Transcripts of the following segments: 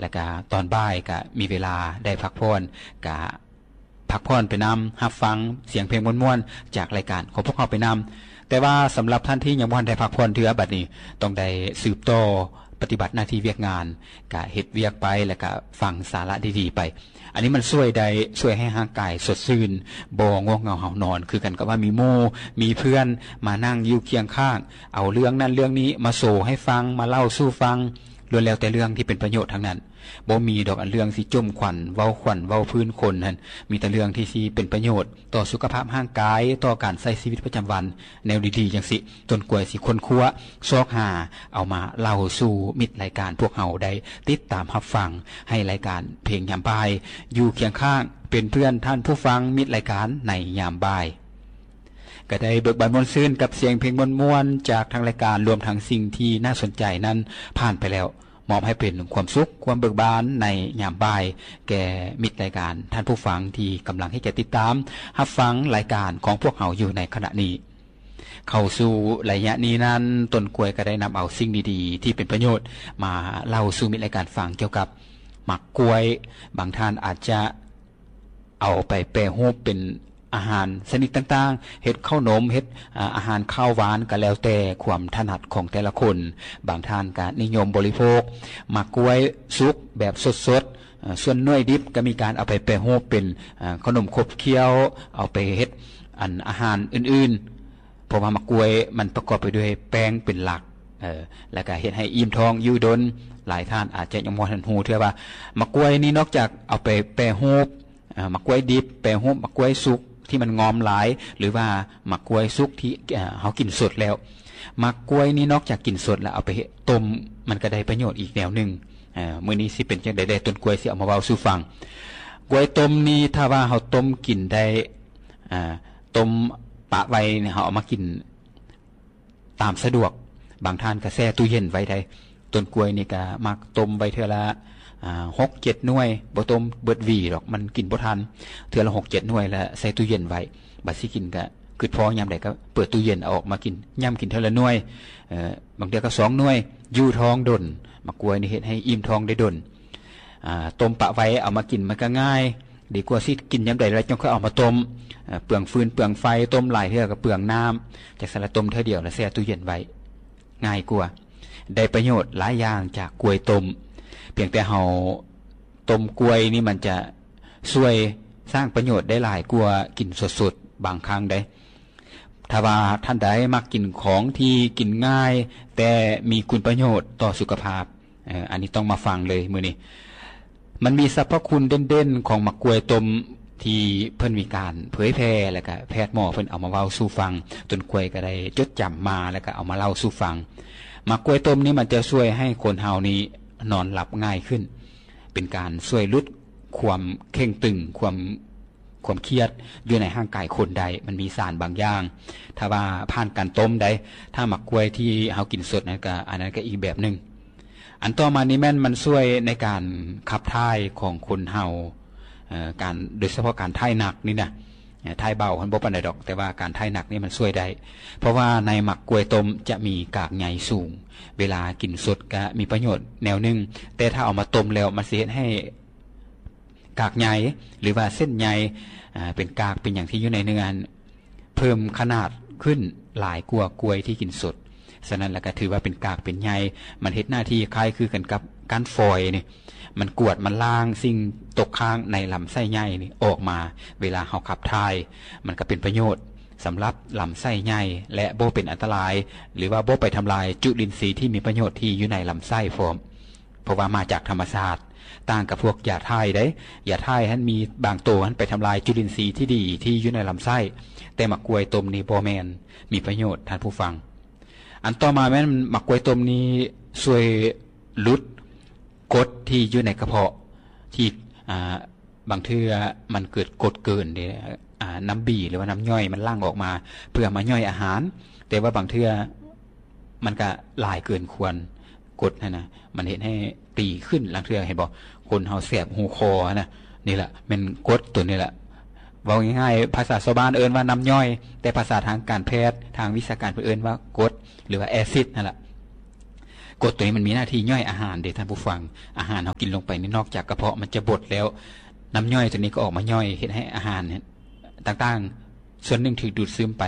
ແລ້ວກະຕອນບ່າຍກະມີເວລາໄດ້ພັກຜ່ອນ ກະພັກຜ່ອນໄປນຳ ຮັບຟັງສຽງເພງມ່ວນໆ ຈາກລາຍການຂອງພວກເຮົາໄປນຳ. ແຕ່ວ່າສຳລັບທ່ານທີ່ຍັງບໍ່ທັນໄດ້ພັກຜ່ອນເທື່ອ ບັດນີ້ຕ້ອງໄດ້ສືບຕໍ່ປະຕິບັດໜ້າທີ່ວຽກງານ ກະເຮັດວຽກໄປ ແລ້ວກະຟັງສາລະດີໆໄປ. ອັນນີ້ມັນຊ່ວຍໄດ້ ຊ່ວຍໃຫ້ຮ່າງກາຍສົດຊື່ນ ບໍ່ງ່ວງເຫງົາຫາວນອນ ຄືກັນກັບວ່າມີໝູ່ ມີເພື່ອນມານັ່ງຢູ່ຄຽງຂ້າງ ເອົາເລື່ອງນັ້ນເລື່ອງນີ້ມາໂຊໃຫ້ຟັງ ມາເລົ່າສູ່ຟັງ ລ້ວນແລ້ວແຕ່ເລື່ອງທີ່ເປັນປະໂຫຍດທັງນັ້ນ. ບໍ່ມີດອກອັນເລື່ອງຊິຈົ່ມຂວັນ ເວົ້າຂວັນ ເວົ້າພື້ນຄົນຫັ້ນ ມີແຕ່ເລື່ອງທີ່ຊິເປັນປະໂຫຍດຕໍ່ສຸຂະພາບຮ່າງກາຍ ຕໍ່ການໃຊ້ຊີວິດປະຈຳວັນ ແນວດີໆຈັ່ງຊີ້. ຕົ້ນກວຍຊິຄົ້ນຄວ້າ ຊອກຫາ ເອົາມາເລົ່າສູ່ມິດລາຍການພວກເຮົາໄດ້ຕິດຕາມຮັບຟັງ ໃຫ້ລາຍການເພງຍາມບ່າຍຢູ່ຄຽງຂ້າງ ເປັນເພື່ອນທ່ານຜູ້ຟັງມິດລາຍການໃນຍາມບ່າຍ. ກະໄດ້ເບີກບານມ່ວນຊື່ນກັບສຽງເພງມ່ວນໆຈາກທາງລາຍການ ລວມທັງສິ່ງທີ່ໜ້າສົນໃຈນັ້ນຜ່ານໄປແລ້ວ ມອບໃຫ້ເປັນຄວາມສຸກ ຄວາມເບີກບານໃນຍາມບ່າຍ ແກ່ມິດລາຍການ ທ່ານຜູ້ຟັງທີ່ກຳລັງເຮັດໃຈຕິດຕາມຮັບຟັງລາຍການຂອງພວກເຮົາຢູ່ໃນຂະນະນີ້. ເຂົ້າສູ່ໄລຍະນີ້ນັ້ນ ຕົ້ນກວຍກະໄດ້ນຳເອົາສິ່ງດີໆທີ່ເປັນປະໂຫຍດມາເລົ່າສູ່ມິດລາຍການຟັງ ກ່ຽວກັບໝາກກວຍ. ບາງທ່ານອາດຈະ ເອົາໄປແປຮູບເປັນອາຫານຊະນິດຕ່າງໆ ເຮັດເຂົ້າໜົມ ເຮັດ ອາ ອາຫານຄາວຫວານ ກະແລ້ວແຕ່ຄວາມຖະໜັດຂອງແຕ່ລະຄົນ. ບາງທ່ານກະນິຍົມບໍລິໂພກໝາກກວຍສຸກແບບສົດໆ ເອີ ສ່ວນໜ່ວຍດິບກະມີການເອົາໄປແປຮູບເປັນ ອາ ເຂົ້າໜົມຂົບຂ້ຽວ ເອົາໄປເຮັດ ອັນ ອາຫານອື່ນໆ ເພາະວ່າໝາກກວຍມັນປະກອບໄປດ້ວຍແປ້ງເປັນຫຼັກ ເອີ ແລ້ວກະເຮັດໃຫ້ອີ່ມທ້ອງຢູ່ດົນ. ຫຼາຍທ່ານອາດຈະຍັງບໍ່ທັນຮູ້ເທື່ອວ່າ ໝາກກວຍນີ້ນອກຈາກເອົາໄປແປຮູບ ເອີ ໝາກກວຍດິບ ແປຮູບໝາກກວຍສຸກທີ່ມັນງອມຫຼາຍ ຫຼືວ່າໝາກກວຍສຸກທີ່ ເອີ ເຮົາກິນສົດແລ້ວ. ໝາກກວຍນີ້ນອກຈາກກິນສົດແລ້ວເອົາໄປຕົ້ມ ມັນກະໄດ້ປະໂຫຍດອີກແນວໜຶ່ງ. ເອີ ມື້ນີ້ຊິເປັນຈັ່ງໃດແດ່ ຕົ້ນກວຍຊິເອົາມາເວົ້າສູ່ຟັງ. ກວຍຕົ້ມນີ້ ຖ້າວ່າເຮົາຕົ້ມກິນໄດ້ ອາ ຕົ້ມປະໄວ້ນີ້ ເຮົາເອົາມາກິນ ຕາມສະດວກ. ບາງທ່ານກະແຊ່ຕູ້ເຢັນໄວ້ໄດ້. ຕົ້ນກວຍນີ້ກະມັກຕົ້ມໄວ້ເທື່ອລະ ອາ ຫົກເຈັດໜ່ວຍ ບໍ່ຕົ້ມເບິດຫວີດອກ ມັນກິນບໍ່ທັນ. ເທື່ອລະຫົກເຈັດໜ່ວຍ ລະໃສ່ຕູ້ເຢັນໄວ້. ບາດຊິກິນກະຄຶດພໍຍາມໃດກະເປີດຕູ້ເຢັນເອົາອອກມາກິນ ຫຍ້ຳກິນເທື່ອລະໜ່ວຍ ເອີ ບາງເທື່ອກະສອງໜ່ວຍ. ຢູ່ທ້ອງດົນ. ໝາກກວຍນີ້ເຮັດໃຫ້ອີ່ມທ້ອງໄດ້ດົນ. ອາ ຕົ້ມປະໄວ້ເອົາມາກິນມັນກະງ່າຍ. ດີກວ່າຊິກິນຍາມໃດແລ້ວຈັ່ງຄ່ອຍເອົາມາຕົ້ມ ເອີ ເປືອງຟືນເປືອງໄຟ ຕົ້ມຫຼາຍເທື່ອກະເປືອງນ້ຳ. ຈັ່ງຊັ້ນລະຕົ້ມເທື່ອດຽວລະແຊ່ຕູ້ເຢັນໄວ້ ງ່າຍກວ່າ. ໄດ້ປະໂຫຍດຫຼາຍຢ່າງຈາກກວຍຕົ້ມ. ພຽງແຕ່ເຮົາຕົ້ມກວຍນີ້ ມັນຈະຊ່ວຍສ້າງປະໂຫຍດໄດ້ຫຼາຍກວ່າກິນສົດໆບາງຄັ້ງໃດ. ຖ້າວ່າທ່ານໃດມັກກິນຂອງທີ່ກິນງ່າຍ ແຕ່ມີຄຸນປະໂຫຍດຕໍ່ສຸຂະພາບ ເອີ ອັນນີ້ຕ້ອງມາຟັງເລີຍມື້ນີ້. ມັນມີສັບພະຄຸນເດັ່ນໆຂອງໝາກກວຍຕົ້ມທີ່ເພິ່ນມີການເຜີຍແຜ່ ແລ້ວກະແພດໝໍເພິ່ນເອົາມາເວົ້າສູ່ຟັງ. ຕົ້ນກວຍກະໄດ້ຈົດຈຳມາ ແລ້ວກະເອົາມາເລົ່າສູ່ຟັງ. ໝາກກວຍຕົ້ມນີ້ມັນຈະຊ່ວຍໃຫ້ຄົນເຮົານີ້ນອນຫຼັບງ່າຍຂຶ້ນ ເປັນການຊ່ວຍຫຼຸດຄວາມເຄັ່ງຕຶງ ຄວາມ ຄວາມຄຽດຢູ່ໃນຮ່າງກາຍຄົນໄດ້ ມັນມີສານບາງຢ່າງ ຖ້າວ່າຜ່ານການຕົ້ມໃດ. ຖ້າໝາກກວຍທີ່ເຮົາກິນສົດນັ້ນກະ ອັນນັ້ນກະອີກແບບໜຶ່ງ. ອັນຕໍ່ມານີ້ແມ່ນມັນຊ່ວຍໃນການຂັບຖ່າຍຂອງຄົນເຮົາ ເອີ ການ ໂດຍສະເພາະການຖ່າຍໜັກນີ້ນະ ເອີ ຖ່າຍເບົາຫັ້ນບໍ່ປານໃດດອກ ແຕ່ວ່າການຖ່າຍໜັກນີ້ມັນຊ່ວຍໄດ້ ເພາະວ່າໃນໝາກກວຍຕົ້ມຈະມີກາກໃຍສູງ ເວລາກິນສົດກະມີປະໂຫຍດແນວໜຶ່ງ ແຕ່ຖ້າເອົາມາຕົ້ມແລ້ວມັນຊິເຮັດໃຫ້ ກາກໃຍ ຫຼືວ່າເສັ້ນໃຍ ອາ ເປັນກາກເປັນຫຍັງທີ່ຢູ່ໃນເນື້ອຫັ້ນ ເພີ່ມຂະໜາດຂຶ້ນຫຼາຍກວ່າກວຍທີ່ກິນສົດ. ສະນັ້ນລະກະຖືວ່າເປັນກາກເປັນໃຍ ມັນເຮັດໜ້າທີ່ຄ້າຍຄືກັນກັບກ້ານຟອຍນີ້ ມັນກວາດມັນລ້າງສິ່ງຕົກຄ້າງໃນລຳໄສ້ໃຫຍ່ນີ້ອອກມາ ເວລາເຮົາຂັບຖ່າຍ ມັນກະເປັນປະໂຫຍດສຳລັບລຳໄສ້ໃຫຍ່ ແລະ ບໍ່ເປັນອັນຕະລາຍ ຫຼືວ່າບໍ່ໄປທຳລາຍຈຸລິນຊີທີ່ມີປະໂຫຍດທີ່ຢູ່ໃນລຳໄສ້ພ້ອມ. ເພາະວ່າມາຈາກທຳມະຊາດ ຕ່າງກັບພວກຢາຖ່າຍເດ້. ຢາຖ່າຍຫັ້ນມີບາງໂຕຫັ້ນໄປທຳລາຍຈຸລິນຊີທີ່ດີທີ່ຢູ່ໃນລຳໄສ້, ແຕ່ໝາກກ້ວຍຕົ້ມນີ້ບໍ່ແມ່ນ. ມີປະໂຫຍດທ່ານຜູ້ຟັງ. ອັນຕໍ່ມາແມ່ນໝາກກ້ວຍຕົ້ມນີ້ຊ່ວຍຫຼຸດກົດທີ່ຢູ່ໃນກະເພາະ ທີ່ ອ່າ ບາງເທື່ອມັນເກີດກົດເກີນເດ້ ອ່າ ນ້ຳບີ ຫຼືວ່ານ້ຳຍ່ອຍມັນຫຼັ່ງອອກມາເພື່ອມາຍ່ອຍອາຫານ, ແຕ່ວ່າບາງເທື່ອມັນກະຫຼາຍເກີນຄວນ ກົດຫັ້ນນະ ມັນເຮັດໃຫ້ຕີຂຶ້ນ. ລາງເທື່ອເຫັນບໍ່ ຄົນເຮົາແສບຫູຄໍຫັ້ນນະ ນີ້ລະແມ່ນກົດໂຕນີ້ລະ. ເວົ້າງ່າຍໆ ພາສາຊາວບ້ານເອີ້ນວ່ານ້ຳຍ່ອຍ, ແຕ່ພາສາທາງການແພດ ທາງວິຊາການເພິ່ນເອີ້ນວ່າກົດ ຫຼືວ່າແອຊິດຫັ້ນລະ. ກົດໂຕນີ້ມັນມີໜ້າທີ່ຍ່ອຍອາຫານເດ້ທ່ານຜູ້ຟັງ. ອາຫານເຮົາກິນລົງໄປນີ້ ນອກຈາກກະເພາະມັນຈະບົດແລ້ວ, ນ້ຳຍ່ອຍໂຕນີ້ກໍອອກມາຍ່ອຍເຮັດໃຫ້ອາຫານຕ່າງໆ ສ່ວນໜຶ່ງຖືກດູດຊຶມໄປ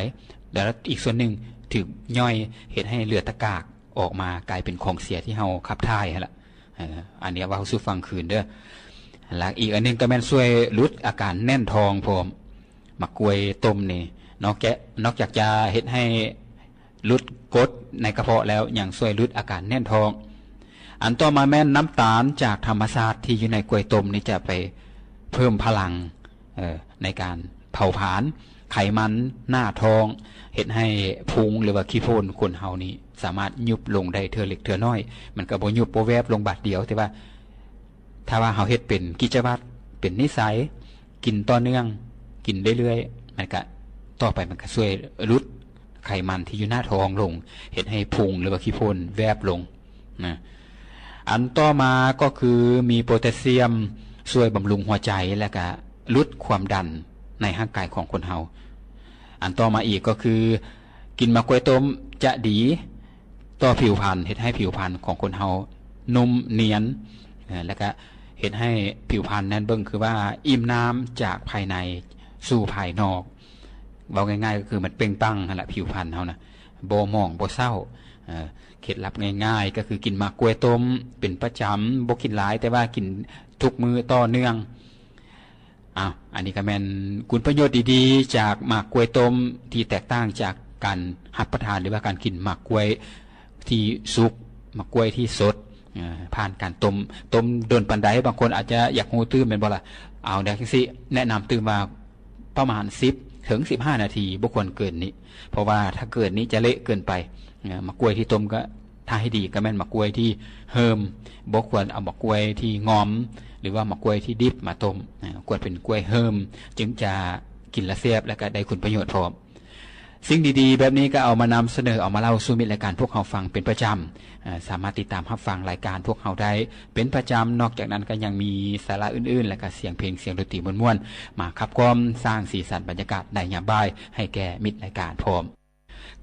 ແລ້ວອີກສ່ວນໜຶ່ງຖືກຍ່ອຍເຮັດໃຫ້ເຫຼືອແຕ່ກາກອອກມາກາຍເປັນຂອງເສຍທີ່ເຮົາຂັບຖ່າຍຫັ້ນລະ. ເອີ ອັນນີ້ເວົ້າສູ່ຟັງຄືນເດີ. ແລ້ວອີກອັນໜຶ່ງກໍແມ່ນຊ່ວຍຫຼຸດອາການແໜ້ນທ້ອງພ້ອມ. ໝາກກ້ວຍຕົ້ມນີ້ ນອກຈາກ ນອກຈາກຈະເຮັດໃຫ້ຫຼຸດກົດໃນກະເພາະແລ້ວ ຍັງຊ່ວຍຫຼຸດອາການແໜ້ນທ້ອງ. ອັນຕໍ່ມາແມ່ນນ້ຳຕານຈາກທຳມະຊາດທີ່ຢູ່ໃນກ້ວຍຕົ້ມນີ້ ຈະໄປເພີ່ມພະລັງ ເອີ ໃນການເຜົາຜານໄຂມັນໜ້າທ້ອງ, ເຮັດໃຫ້ພຸງ ຫຼືວ່າຂີ້ຝຸ່ນຄົນເຮົານີ້ສາມາດຍຸບລົງໄດ້ເທື່ອເລັກເທື່ອນ້ອຍ. ມັນກໍບໍ່ຍຸບບໍ່ແວບລົງບາດດຽວ, ແຕ່ວ່າຖ້າວ່າເຮົາເຮັດເປັນກິດຈະວັດ ເປັນນິໄສ ກິນຕໍ່ເນື່ອງ ກິນເລື້ອຍໆ ມັນກະ ຕໍ່ໄປມັນກະຊ່ວຍຫຼຸດໄຂມັນທີ່ຢູ່ໜ້າທ້ອງລົງ, ເຮັດໃຫ້ພຸງ ຫຼືວ່າຂີ້ຝຸ່ນແວບລົງນະ. ອັນຕໍ່ມາກໍຄືມີໂປແທສຊຽມ ຊ່ວຍບຳລຸງຫົວໃຈ ແລະກະຫຼຸດຄວາມດັນໃນຮ່າງກາຍຂອງຄົນເຮົາ. ອັນຕໍ່ມາອີກກໍຄື ກິນໝາກກ້ວຍຕົ້ມຈະດີຕໍ່ຜິວພັນ, ເຮັດໃຫ້ຜິວພັນຂອງຄົນເຮົານຸ້ມນຽນ ເອີ ແລະກະເຮັດໃຫ້ຜິວພັນນັ້ນເບິ່ງຄືວ່າອີ່ມນ້ຳຈາກພາຍໃນສູ່ພາຍນອກ. ເວົ້າງ່າຍໆກໍຄືມັນເປັ່ງປັງຫັ້ນລະ ຜິວພັນເຮົານະ ບໍ່ໝອງບໍ່ເສົ້າ. ເອີ ເຄັດລັບງ່າຍໆກໍຄືກິນໝາກກ້ວຍຕົ້ມເປັນປະຈຳ, ບໍ່ກິນຫຼາຍ ແຕ່ວ່າກິນທຸກມື້ຕໍ່ເນື່ອງ. ອ້າວ ອັນນີ້ກໍແມ່ນຄຸນປະໂຫຍດດີໆຈາກໝາກກ້ວຍຕົ້ມ ທີ່ແຕກຕ່າງຈາກການຮັບປະທານ ຫຼືວ່າການກິນໝາກກ້ວຍທີ່ສຸກ, ໝາກກ້ວຍທີ່ສົດ ເອີ ຜ່ານການຕົ້ມ. ຕົ້ມດົນປານໃດ? ບາງຄົນອາດຈະຢາກຮູ້ຕື່ມແມ່ນບໍ່ລະ? ເອົາ ແນວຈັ່ງຊີ້ ແນະນຳຕື່ມວ່າປະມານສິບເຖິງສິບຫ້ານາທີ, ບໍ່ຄວນເກີນນີ້ ເພາະວ່າຖ້າເກີນນີ້ຈະເລະເກີນໄປ. ເອີ ໝາກກ້ວຍທີ່ຕົ້ມກໍ ຖ້າໃຫ້ດີກໍແມ່ນໝາກກ້ວຍທີ່ເຫີມ, ບໍ່ຄວນເອົາໝາກກ້ວຍທີ່ງອມ ຫຼືວ່າໝາກກ້ວຍທີ່ດິບມາຕົ້ມ. ເອີ ຄວນເປັນກ້ວຍເຫີມ ຈຶ່ງຈະກິນແລ້ວແຊບ ແລະກະໄດ້ຄຸນປະໂຫຍດພ້ອມ. ສິ່ງດີໆແບບນີ້ກໍເອົາມານຳສະເໜີ, ເອົາມາເລົ່າສູ່ມິດລາຍການພວກເຮົາຟັງເປັນປະຈຳ. ເອີ ສາມາດຕິດຕາມຮັບຟັງລາຍການພວກເຮົາໄດ້ເປັນປະຈຳ. ນອກຈາກນັ້ນກໍຍັງມີສາລະອື່ນໆ ແລະກະສຽງເພງ, ສຽງດົນຕີມ່ວນໆ ມາຂັບກ່ອມສ້າງສີສັນບັນຍາກາດໃນຍາມບ່າຍໃຫ້ແກ່ມິດລາຍການພ້ອມ.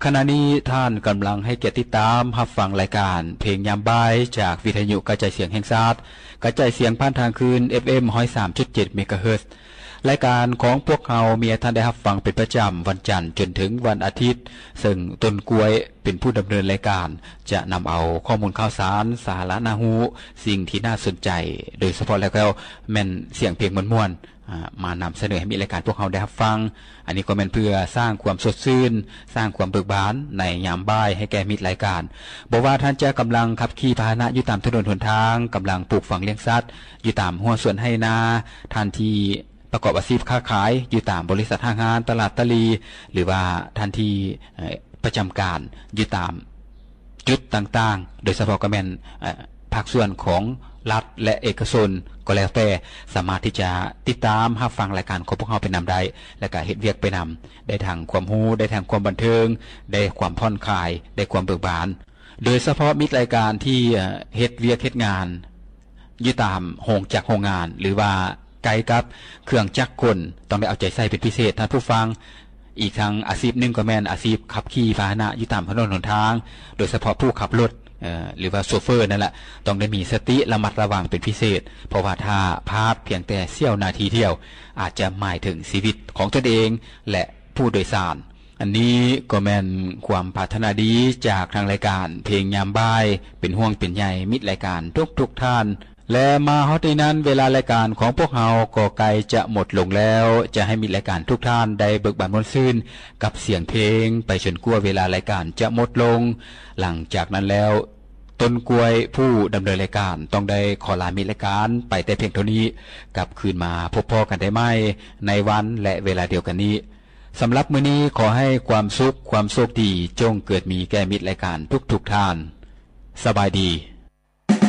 ຂະນະນີ້ທ່ານກຳລັງໃຫ້ກຽດຕິດຕາມຮັບຟັງລາຍການເພງຍາມບ່າຍຈາກວິທະຍຸກະຈາຍສຽງແຫ່ງຊາດ, ກະຈາຍສຽງຜ່ານທາງຄື້ນ ເອັຟເອັມ ຮ້ອຍສາມຈຸດເຈັດ ເມກາເຮີດ. ລາຍການຂອງພວກເຮົາມີໃຫ້ທ່ານໄດ້ຮັບຟັງເປັນປະຈຳວັນຈັນຈົນເຖິງວັນອາທິດ, ເຊິ່ງຕົ້ນກ້ວຍເປັນຜູ້ດຳເນີນລາຍການ, ຈະນຳເອົາຂໍ້ມູນຂ່າວສານ, ສາລະໜ້າຮູ້, ສິ່ງທີ່ໜ້າສົນໃຈ, ໂດຍສະເພາະແລ້ວກໍແມ່ນສຽງເພງມ່ວນໆ ອາ ມານຳສະເໜີໃຫ້ມິດລາຍການພວກເຮົາໄດ້ຮັບຟັງ. ອັນນີ້ກໍແມ່ນເພື່ອສ້າງຄວາມສົດຊື່ນ, ສ້າງຄວາມເບີກບານໃນຍາມບ່າຍໃຫ້ແກ່ມິດລາຍການ. ບໍ່ວ່າທ່ານຈະກຳລັງຂັບຂີ່ພາຫະນະຢູ່ຕາມຖະໜົນຫົນທາງ, ກຳລັງປູກຝັງລ້ຽງສັດຢູ່ຕາມຮົ້ວສວນໄຮ່ນາ, ທ່ານທີ່ປະກອບອາຊີບຄ້າຂາຍຢູ່ຕາມບໍລິສັດຫ້າງຮ້ານ, ຕະຫຼາດຕະຫຼີ່, ຫຼືວ່າທ່ານທີ່ ເອີ ປະຈຳການຢູ່ຕາມຈຸດຕ່າງໆ, ໂດຍສະເພາະກໍແມ່ນ ເອີ ພາກສ່ວນຂອງລັດ ແລະ ເອກະຊົນກໍແລ້ວແຕ່, ສາມາດທີ່ຈະຕິດຕາມຮັບຟັງລາຍການຂອງພວກເຮົາໄປນຳໄດ້ ແລະ ກະເຮັດວຽກໄປນຳ, ໄດ້ທັງຄວາມຮູ້, ໄດ້ທັງຄວາມບັນເທີງ, ໄດ້ຄວາມຜ່ອນຄາຍ, ໄດ້ຄວາມເບີກບານ. ໂດຍສະເພາະມິດລາຍການທີ່ ເອີ ເຮັດວຽກເຮັດງານ ຢູ່ຕາມໂຮງຈັກໂຮງງານ ຫຼືວ່າໃກ້ກັບເຄື່ອງຈັກກົນ ຕ້ອງໄດ້ເອົາໃຈໃສ່ເປັນພິເສດທ່ານຜູ້ຟັງ. ອີກທັງອາຊີບໜຶ່ງກໍແມ່ນອາຊີບຂັບຂີ່ພາຫະນະຢູ່ຕາມຖະໜົນຫົນທາງ, ໂດຍສະເພາະຜູ້ຂັບລົດ ເອີ ຫຼືວ່າໂຊເຟີນັ້ນລະ ຕ້ອງໄດ້ມີສະຕິລະມັດລະວັງເປັນພິເສດ, ເພາະວ່າຖ້າພາດພຽງແຕ່ສ່ຽວນາທີດຽວ ອາດຈະໝາຍເຖິງຊີວິດຂອງຕົນເອງ ແລະ ຜູ້ໂດຍສານ. ອັນນີ້ກໍແມ່ນຄວາມປາດຖະໜາດີຈາກທາງລາຍການເພງຍາມບ່າຍ, ເປັນຫ່ວງເປັນໃຍມິດລາຍການທຸກໆທ່ານ. ແລະ ມາຮອດນີ້ນັ້ນ ເວລາລາຍການຂອງພວກເຮົາກໍໃກ້ຈະໝົດລົງແລ້ວ, ຈະໃຫ້ມິດລາຍການທຸກທ່ານໄດ້ເບີກບານມ່ວນຊື່ນກັບສຽງເພງໄປຈົນກວ່າເວລາລາຍການຈະໝົດລົງ. ຫຼັງຈາກນັ້ນແລ້ວ, ຕົ້ນກ້ວຍຜູ້ດຳເນີນລາຍການຕ້ອງໄດ້ຂໍລາມິດລາຍການໄປແຕ່ພຽງເທົ່ານີ້, ກັບຄືນມາພົບພໍ້ກັນໄດ້ໃໝ່ໃນວັນ ແລະ ເວລາດຽວກັນນີ້. ສຳລັບມື້ນີ້ ຂໍໃຫ້ຄວາມສຸກ, ຄວາມໂຊກດີ ຈົ່ງເກີດມີແກ່ມິດລາຍການທຸກໆທ່ານ. ສະບາຍດີ.